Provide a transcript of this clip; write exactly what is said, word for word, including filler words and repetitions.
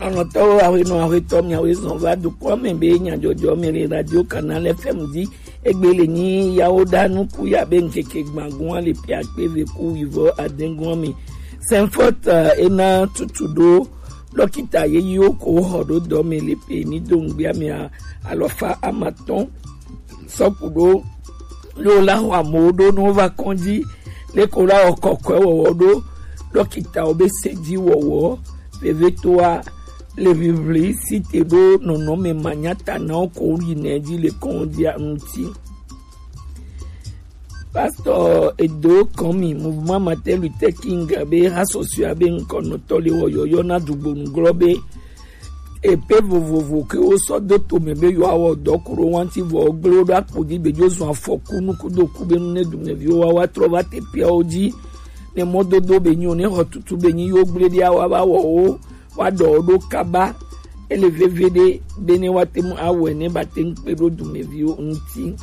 Anɔtɔwo, aƒenɔ aƒetɔ, miawoe zɔn va dukɔa me be nyadzɔdzɔ me le Radio Canal F M dzi. Egbe le nyi yawo ɖa nuku ya be ŋkeke gbagun le pia kpe ve ku wivɔ adengua me. Saint Fort, eh, ena tutu ɖo dɔkita yeyiwo ko xɔ ɖo dɔ me le pe mi do ŋgbia mea alɔfa amatɔn sɔku ɖo lo la xɔ amewo ɖo ne wova kɔdzi le ko la wɔ kɔkɔe wɔwɔ ɖo dɔkitawo be se dzi wɔwɔ vevetoa le ʋiʋli si te ɖo nɔnɔme manyatanawo ko yina edzi le kɔndia ŋuti. Pastor Edo Kɔmi, Mouvement Martin Luther King be hasɔsɔa be ŋkɔnɔtɔ le wɔ yɔyɔ na dugbonu glɔ be epe vovovo ke wosɔ do tome be yewoawɔ dɔ ku ɖo ŋuti vɔ gble wo ɖo akpo dzi be dzo zɔ afɔku nukudoku be nu ne dumeviwo wa wa trɔ va teƒeawo dzi ne mɔdodo be nyi o ne xɔ tutu be nyi yewo gble ɖi awa va wɔ wo wa ɖɔ wo ɖo kaba. Ele veve ɖe be ne wa te ŋu awɔe ne ba te ŋu kpe ɖo dumeviwo ŋuti.